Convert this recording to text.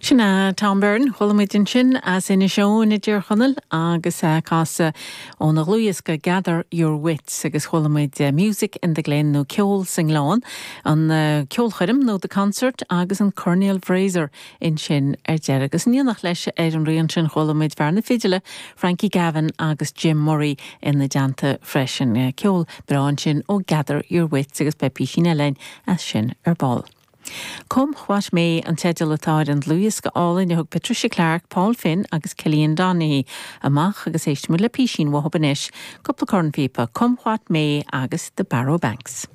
Sin é Tom Byrne, chuala muid ansin as Inis Eoghain i dTír Chonaill agus é ag casadh óna dhlúthdhiosca Gather Your Wits agus chuala muid Music in the Glen nó Ceol sa nGleann, an ceolchoirm nó The Concert agus an Coirnéal Fraser ansin ar deireadh. Agus in éineacht leis ar an rian sin chuala muid fear na fidile Frankie Gavin agus Jim Murray ina dteannta freisin. Ceol breá ansin ó Gather Your Wits agus beidh písín eile againn as sin ar ball. Come What May an teideal atá ar an dlúthdhiosca álainn a thug Patricia Clarke, Paul Finn agus Cillian Donaghy amach agus éistfidh muid le písín uathu anois, cúpla cornphíopa, Come What May agus The Barrow Banks.